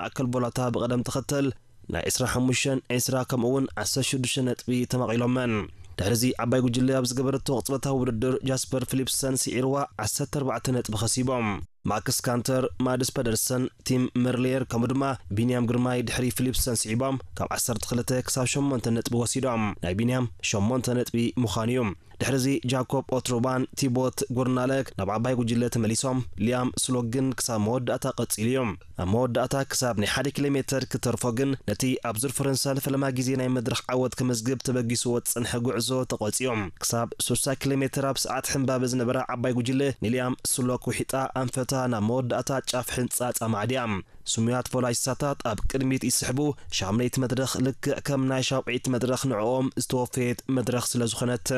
ማእከል ቦላታ ብቐደም ተኸተል ናይ ዕስራን ሓሙሽተን፣ ዕስራ ከምኡ እውን ዓሰርተ ሽዱሽተ ነጥቢ ተማቒሎመን። ድሕሪዚ ዓባይ ጉጅለ ኣብ ዝገበረቶ ቅጽበታዊ ውድድር ጃስፐር ፊሊፕሰን ስዒርዋ ዓሰርተ ኣርባዕተ ነጥቢ ከሲቦም። ማክስ ካንተር፣ ማድስ ፐደርሰን፣ ቲም መርሌየር ከምኡ ድማ ቢንያም ግርማይ ድሕሪ ፊሊፕሰን ስዒቦም ካብ ዓሰርተ ክልተ ክሳብ ሸሞንተ ነጥቢ ወሲዶም። ናይ ቢንያም ሸሞንተ ነጥቢ ምዃኑ እዩ። ድሕሪዚ ጃኮብ ኦትሩባን ቲቦት ጉርናለክ ናብ ዓባይ ጉጅለ ተመሊሶም። ሊያም ስሎግ ግን ክሳብ መወዳእታ ቀጺሉ እዩ። ኣብ መወዳእታ ክሳብ ናይ ሓደ ኪሎ ሜተር ክተርፎ ግን ነቲ ኣብ ዙር ፈረንሳ ንፈለማ ግዜ ናይ መድረኽ ዓወት ክምዝግብ ተበጊስዎ ዝጸንሐ ጉዕዞ ተቖጽዮ። ክሳብ ስሳ ኪሎ ሜተር ኣብ ሰዓት ሕምባበ ዝነበራ ዓባይ ጉጅለ ንሊያም ስሎክ ውሒጣ ኣንፈታ ናብ መወዳእታ ጫፍ ሕንጻጽ ኣማዕድያ። ስሙያት ፖላሲሳታት ኣብ ቅድሚት ይስሕቡ። ሻምነይቲ መድረኽ ልክዕ ከም ናይ ሻውዒት መድረኽ ንዕኦም ዝተወፈየት መድረኽ ስለ ዝኾነት።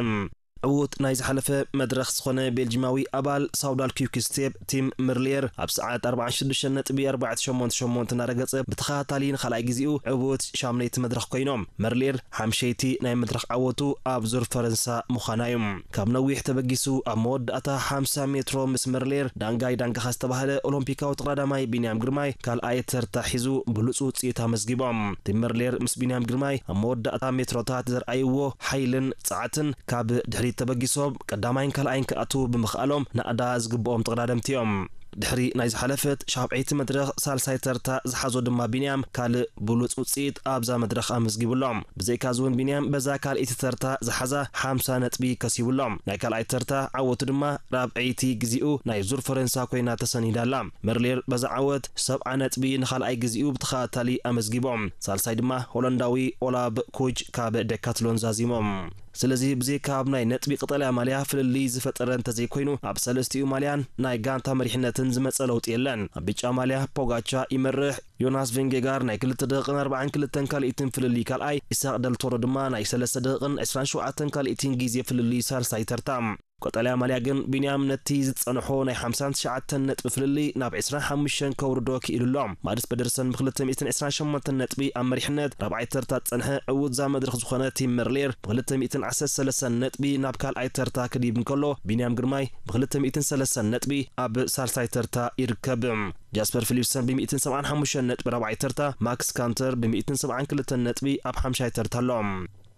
ዕዉት ናይ ዝሓለፈ መድረኽ ዝኾነ ቤልጂማዊ ኣባል ሳውዳል ኪውክ ስቴፕ ቲም መርሊየር ኣብ ሰዓት ኣርባዓን ሽዱሽተ ነጥቢ ኣርባዕተ ሸሞንተ ሸሞንተ እናረገጸ ብተኸታታሊ ንኻልኣይ ግዜኡ ዕዉት ሻምነይቲ መድረኽ ኮይኖም። መርሊየር ሓምሸይቲ ናይ መድረኽ ዓወቱ ኣብ ዙር ፈረንሳ ምዃና እዩ። ካብ ነዊሕ ተበጊሱ ኣብ መወዳእታ ሓምሳ ሜትሮ ምስ መርሊየር ዳንጋይ ዳንጋኻ ዝተባህለ ኦሎምፒካዊ ተቐዳዳማይ ቢንያም ግርማይ ካልኣይ ተርታ ሒዙ ብሉጽ ውጽኢት ኣመዝጊቦም። ቲም መርሊየር ምስ ቢንያም ግርማይ ኣብ መወዳእታ ሜትሮታት ዘርኣይዎ ሓይልን ጸዓትን ካብ ድሕሪት ተበጊሶም ቀዳማይን ካልኣይን ክኣትዉ ብምኽኣሎም ናእዳ ዝግብኦም ተቐዳደምቲ እዮም። ድሕሪ ናይ ዝሓለፈት ሻብዐይቲ መድረኽ ሳልሳይ ተርታ ዝሓዞ ድማ ቢንያም ካልእ ብሉጽ ውጽኢት ኣብዛ መድረኽ ኣመዝጊቡ ኣሎ። ብዘይካዚ እውን ቢንያም በዛ ካልኣይቲ ተርታ ዝሓዛ ሓምሳ ነጥቢ ከሲቡ ኣሎ። ናይ ካልኣይ ተርታ ዓወቱ ድማ ራብዐይቲ ግዜኡ ናይ ዙር ፈረንሳ ኮይና ተሰኒዳ ኣላ። መርሌር በዛ ዓወት ሰብዓ ነጥቢ ንኻልኣይ ግዜኡ ብተኸታታሊ ኣመዝጊቦም። ሳልሳይ ድማ ሆላንዳዊ ኦላብ ኩጅ ካብ ዴካትሎን ዛዚሞም። ስለዚ ብዘይካ ኣብ ናይ ነጥቢ ቀጠልያ ማልያ ፍልልይ ዝፈጠረ እንተዘይኮይኑ፣ ኣብ ሰለስቲኡ ማልያን ናይ ጋንታ መሪሕነትን ዝመጸ ለውጢ የለን። ኣብ ብጫ ማልያ ፖጋቻ ይመርሕ። ዮናስ ቬንጌጋር ናይ ክልተ ደቂቕን ኣርባዓን ክልተን ካልኢትን ፍልልይ ካልኣይ፣ ኢሳቕ ደልቶሮ ድማ ናይ ሰለስተ ደቂቕን ዕስራን ሸውዓተን ካልኢትን ግዜ ፍልልይ ሳልሳይ ተርታ። ቀጠልያ ማልያ ግን ቢንያም ነቲ ዝጸንሖ ናይ ሓምሳን ትሽዓተን ነጥቢ ፍልልይ ናብ ዕስራን ሓሙሽተን ከውርዶ ክኢሉ ኣሎ። ማድስ ፐደርሰን ብክልተ ሚእትን ዕስራን ሸሞንተን ነጥቢ ኣብ መሪሕነት ራብዓይ ተርታ ዝጸንሐ ዕዉት እዛ መድረኽ ዝኾነ ቲም መርሌር ብክልተ ሚእትን ዓሰርተ ሰለስተን ነጥቢ ናብ ካልኣይ ተርታ ክድይብ እንከሎ፣ ቢንያም ግርማይ ብክልተ ሚእትን ሰለስተን ነጥቢ ኣብ ሳልሳይ ተርታ ይርከብ። ጃስፐር ፊሊፕሰን ብሚእትን ሰብዓን ሓሙሽተን ነጥቢ ራብዓይ ተርታ፣ ማክስ ካንተር ብሚእትን ሰብዓን ክልተን ነጥቢ ኣብ ሓምሻይ ተርታ ኣሎ።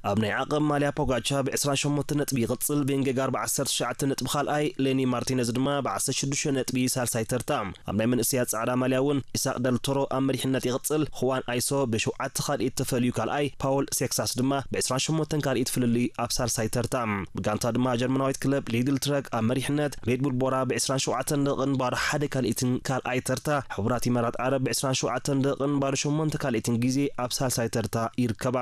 ኣብ ናይ ዓቐብ ማልያ ፖጋቻ ብዕስራን ሸሞንተን ነጥቢ ይቕጽል፣ ቬንጌጋር ብዓሰርተ ትሽዓተ ነጥቢ ካልኣይ፣ ሌኒ ማርቲነዝ ድማ ብዓሰርተ ሽዱሽተ ነጥቢ ሳልሳይ ተርታ። ኣብ ናይ መንእሰያት ጻዕዳ ማልያ እውን ኢሳቕ ደልቶሮ ኣብ መሪሕነት ይቕጽል፣ ኹዋን ኣይሶ ብሸውዓተ ካልኢት ተፈልዩ ካልኣይ፣ ፓውል ሴክሳስ ድማ ብዕስራን ሸሞንተን ካልኢት ፍልልይ ኣብ ሳልሳይ ተርታ። ብጋንታ ድማ ጀርመናዊት ክለብ ሊድል ትረክ ኣብ መሪሕነት፣ ሬድቡል ቦራ ብዕስራን ሸውዓተን ደቂቕን ባዶ ሓደ ካልኢትን ካልኣይ ተርታ፣ ሕቡራት ኢማራት ዓረብ ብዕስራን ሸውዓተን ደቂቕን ባዶ ሸሞንተ ካልኢትን ግዜ ኣብ ሳልሳይ ተርታ ይርከባ።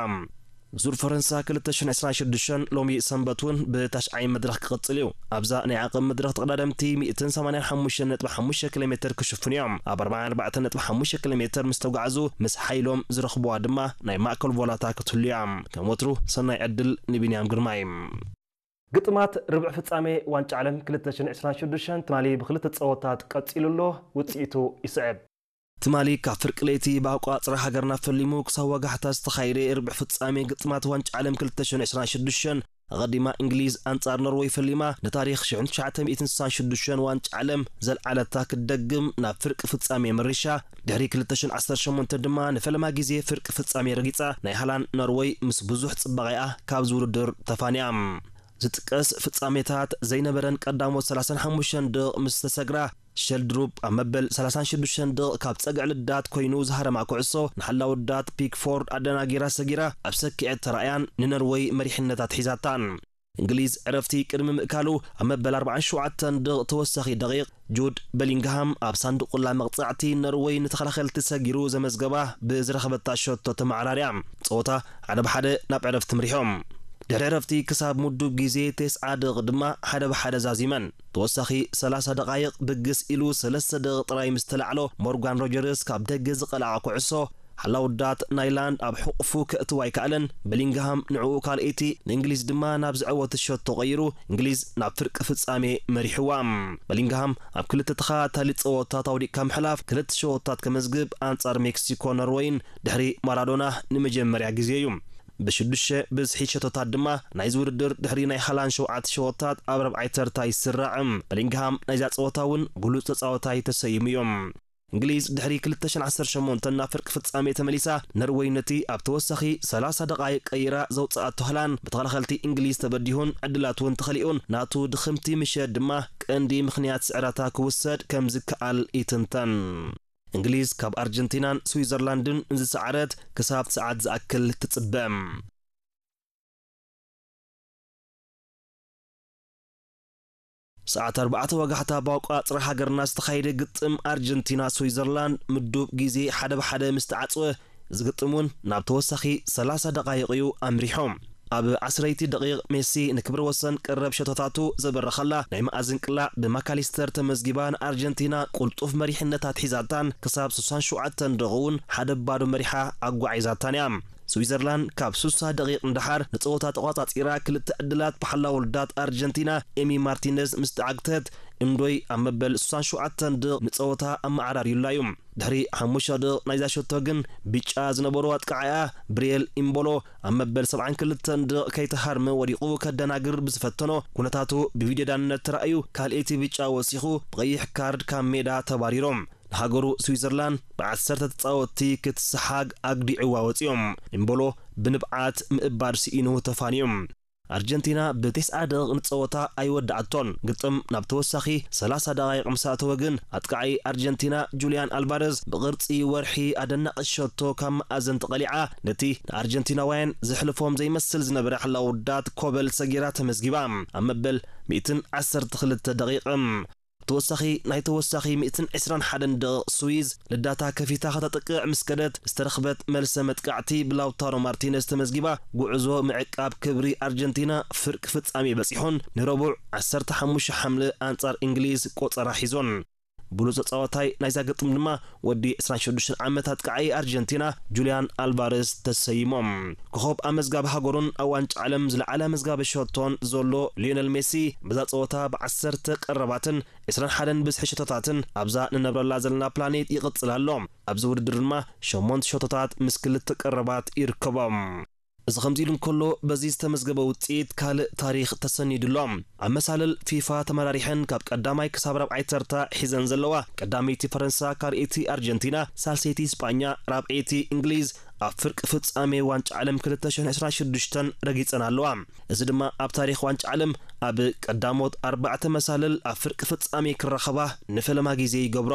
ዙር ፈረንሳ ክልተ ሽሕን ዕስራን ሽዱሽተን ሎሚ ሰንበት እውን ብታሽዓይ መድረኽ ክቕጽል እዩ። ኣብዛ ናይ ዓቐብ መድረኽ ተቐዳደምቲ ሚእትን ሰማንያን ሓሙሽተን ነጥቢ ሓሙሽተ ኪሎ ሜተር ክሽፍኑ እዮም። ኣብ ኣርባዓን ኣርባዕተን ነጥቢ ሓሙሽተ ኪሎ ሜተር ምስ ተጓዕዙ፣ ምስ ሓይሎም ዝረኽብዋ ድማ ናይ ማእከል ቮላታ ክትህሉ እያ። ከም ወትሩ ሰናይ ዕድል ንቢንያም ግርማይ። ግጥማት ርብዕ ፍጻሜ ዋንጫ ዓለም ክልተ ሽሕን ዕስራን ሽዱሽተን ትማሊ ብክልተ ጸወታት ቀጺሉ ኣሎ። ውጽኢቱ ይስዕብ። ትማሊ ካብ ፍርቂ ለይቲ ብኣቋጽራ ሃገርና ፈሊሙ ክሳብ ወጋሕታ ዝተኻየደ ርብዕ ፍጻሜ ግጥማት ዋንጫ ዓለም ክልተ ሽሕን ዕስራን ሽዱሽተን፣ ኣቐዲማ እንግሊዝ ኣንጻር ኖርወይ ፈሊማ፣ ንታሪኽ ሽሕን ትሽዓተ ሚእትን ስሳን ሽዱሽተን ዋንጫ ዓለም ዘልዓለታ ክትደግም ናብ ፍርቂ ፍጻሜ መሪሻ፣ ድሕሪ ክልተ ሽሕን ዓሰርተ ሸሞንተን ድማ ንፈለማ ግዜ ፍርቂ ፍጻሜ ረጊጻ፣ ናይ ሃላንድ ኖርወይ ምስ ብዙሕ ጽባቐኣ ካብዚ ውድድር ተፋንያ። ዝጥቀስ ፍጻሜታት ዘይነበረን ቀዳሞት ሰላሳን ሓሙሽተን ደቕ ምስ ተሰግራ፣ ሸልድሩፕ ኣብ መበል ሰላሳን ሽዱሽተን ደቕ ካብ ጸግዒ ልዳት ኮይኑ ዝሃረማ ኩዕሶ ንሓላው ልዳት ፒክፎርድ ኣደናጊራ ሰጊራ ኣብ ሰኪዐት ተራእያን ንነርወይ መሪሕነት ኣትሒዛታን። እንግሊዝ ዕረፍቲ ቅድሚ ምእካሉ ኣብ መበል ኣርባዓን ሸውዓተን ደቕ ተወሳኺ ደቂቕ ጁድ በሊንግሃም ኣብ ሳንዱቕ ቁላ መቕጻዕቲ ነርወይ ንተኸላኸልቲ ሰጊሩ ዘመዝገባ ብዝረኸበታ ሸቶ ተመዓራርያ። ጸወታ ሓደ ብሓደ ናብ ዕረፍቲ ምሪሖም። ድሕሪ ዕረፍቲ ክሳብ ምዱብ ግዜ ተስዓ ደቕ ድማ ሓደ ብሓደ ዛዚመን። ተወሳኺ ሰላሳ ደቓይቕ ብግስ ኢሉ ሰለስተ ደቕ ጥራይ ምስ ተላዕሎ ሞርጋን ሮጀርስ ካብ ደገ ዝቐልዓ ኩዕሶ ሓላውዳት ናይላንድ ኣብ ሕቑፉ ከእትዋ ኣይከኣለን። በሊንግሃም ንዕኡ ካልኣይቲ፣ ንእንግሊዝ ድማ ናብ ዝዕወት ሸቶ ቀይሩ እንግሊዝ ናብ ፍርቂ ፍጻሜ መሪሕዋ። በሊንግሃም ኣብ ክልተ ተኸታታሊ ጸወታት ኣውዲቕካ ምሕላፍ ክልተ ሸቶታት ከመዝግብ ኣንጻር ሜክሲኮ ኖርወይን ድሕሪ ማራዶና ንመጀመርያ ግዜ እዩ። ብሽዱሽተ ብዝሒ ሸቶታት ድማ ናይዚ ውድድር ድሕሪ ናይ ሃላንድ ሸውዓተ ሸቶታት ኣብ ራብዓይ ተርታ ይስራዕ። በሊንግሃም ናይዛ ጸወታ እውን ብሉጽ ተጻዋታይ ተሰይሙ እዩ። እንግሊዝ ድሕሪ ክልተ ሽሕን ዓሰርተ ሸሞንተን ናብ ፍርቂ ፍጻሜ ተመሊሳ፣ ኖርወይ ነቲ ኣብ ተወሳኺ ሰላሳ ደቓይቕ ቀይራ ዘውጽኣቶ ሃላንድ ብተኸላኸልቲ እንግሊዝ ተበዲሁን ዕድላት እውን ተኸሊኡን፣ ናቱ ድኽምቲ ምሸት ድማ ቀንዲ ምኽንያት ስዕረታ ክውሰድ ከም ዝከኣል ይትንተን። እንግሊዝ ካብ ኣርጀንቲናን ስዊዘርላንድን ዝሰዓረት ክሳብ ሰዓት ዝኣክል ትጽበ። ሰዓት ኣርባዕተ ወጋሕታ ብኣቋጽራ ሃገርና ዝተኻየደ ግጥም ኣርጀንቲና ስዊዘርላንድ ምዱብ ግዜ ሓደ ብሓደ ምስ ተዓጽወ፣ እዚ ግጥም እውን ናብ ተወሳኺ ሰላሳ ደቓይቕ እዩ ኣምሪሑ። ኣብ ዓስረይቲ ደቒቕ ሜሲ ንክብረ ወሰን ቀረብ ሸቶታቱ ዘበረኸላ ናይ መኣዝን ቅላዕ ብማካሊስተር ተመዝጊባ ንኣርጀንቲና ቁልጡፍ መሪሕነት ኣትሒዛታን ክሳብ ስሳን ሸውዓተን ደቒቕ እውን ሓደ ባዶ መሪሓ ኣጓዒዛታን እያ። ስዊዘርላንድ ካብ ስሳ ደቒቕ ንደሓር ንጸወታ ተቋጻጺራ ክልተ ዕድላት ብሓላው ውልዳት ኣርጀንቲና ኤሚ ማርቲነዝ ምስ ተዓግተት፣ እምዶይ ኣብ መበል ስሳን ሸውዓተን ደቒቕ ንጸወታ ኣመዓራርዩላ እዩ። ድሕሪ ሓሙሽተ ደቒቕ ናይዛ ሸቶ ግን ብጫ ዝነበሮ ኣጥቃዓያ ብሪኤል ኢምቦሎ ኣብ መበል ሰብዓን ክልተን ደቒቕ ከይተሃርመ ወዲቑ ከደናግር ብዝፈተኖ ኩነታቱ ብቪድዮ ዳንነት ተራእዩ ካልኣይቲ ብጫ ወሲኹ ብቐይሕ ካርድ ካብ ሜዳ ተባሪሮም። ንሃገሩ ስዊዘርላንድ ብዓሰርተ ተጻወትቲ ክትሰሓግ ኣግዲዕዋ ወጺኦም። ኢምቦሎ ብንብዓት ምእባድ ስኢኑ ተፋንዮም። ኣርጀንቲና ብቴስዓ ደቒቕ ንጸወታ ኣይወድኣቶን። ግጥም ናብ ተወሳኺ ሰላሳ ደቓይቕ ምስ ኣተወ ግን ኣጥቃዓይ ኣርጀንቲና ጁልያን ኣልቫረዝ ብቕርጺ ወርሒ ኣደናቒ ሸቶ ካብ መኣዘን ተቐሊዓ ነቲ ንኣርጀንቲናውያን ዘሕልፎም ዘይመስል ዝነበረ ሕላው ውዳት ኮበል ሰጊራ ተመዝጊባ። ኣብ መበል ሚእትን ዓሰርተ ክልተ ደቒቕ ተወሳኺ ናይ ተወሳኺ ሚእትን ዕስራን ሓደን ደቒቕ ስዊዝ ልዳታ ከፊታ ከተጥቅዕ ምስ ከደት ዝተረኽበት መልሰ መጥቃዕቲ ብላውታሮ ማርቲነዝ ተመዝጊባ፣ ጉዕዞ ምዕቃብ ክብሪ ኣርጀንቲና ፍርቂ ፍጻሜ በጺሑን ንረቡዕ ዓሰርተ ሓሙሽተ ሓምለ ኣንጻር እንግሊዝ ቆጸራ ሒዞን። ብሉጽ ተጻዋታይ ናይዛ ግጥም ድማ ወዲ ዕስራን ሽዱሽተን ዓመት ኣጥቃዓይ ኣርጀንቲና ጁልያን ኣልቫረዝ ተሰይሞም። ኮኾብ ኣመዝጋቢ ሃገሩን ኣብ ዋንጫ ዓለም ዝለዓለ መዝጋቢ ሸቶን ዘሎ ሊዮነል ሜሲ በዛ ጸወታ ብዓሰርተ ቀረባትን ዕስራን ሓደን ብዝሒ ሸቶታትን ኣብዛ ንነብረላ ዘለና ፕላኔት ይቕጽል ኣሎ። ኣብዚ ውድድር ድማ ሸሞንተ ሸቶታት ምስ ክልተ ቀረባት ይርከቦም። እዚ ከምዚ ኢሉ እንከሎ፣ በዚ ዝተመዝገበ ውጽኢት ካልእ ታሪኽ ተሰኒዱ ኣሎ። ኣብ መሳልል ፊፋ ተመራሪሐን ካብ ቀዳማይ ክሳብ ራብዓይ ተርታ ሒዘን ዘለዋ፣ ቀዳመይቲ ፈረንሳ፣ ካልኣይቲ ኣርጀንቲና፣ ሳልሰይቲ ስጳኛ፣ ራብዐይቲ እንግሊዝ ኣብ ፍርቂ ፍጻሜ ዋንጫ ዓለም ክልተ ሽሕን ዕስራን ሽዱሽተን ረጊጸን ኣለዋ። እዚ ድማ ኣብ ታሪኽ ዋንጫ ዓለም ኣብ ቀዳሞት ኣርባዕተ መሳልል ኣብ ፍርቂ ፍጻሜ ክራኸባ ንፈለማ ግዜ ይገብሮ።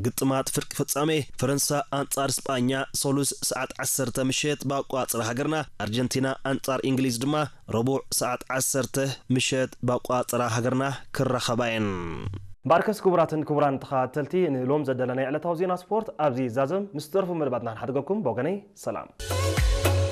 ግጥማት ፍርቂ ፍጻሜ ፈረንሳ ኣንጻር ስጳኛ ሰሉስ ሰዓት ዓሰርተ ምሸት ብኣቋጽራ ሃገርና፣ ኣርጀንቲና ኣንጻር እንግሊዝ ድማ ረቡዕ ሰዓት ዓሰርተ ምሸት ብኣቋጽራ ሃገርና ክራኸባ እየን። ባርከስ ክቡራትን ክቡራን ተኸታተልቲ ንሎም ዘደለናይ ዕለታዊ ዜና ስፖርት ኣብዚ ዛዘም ምስ ደርፉ መደባትና ክንሓድገኩም ብወገነይ ሰላም።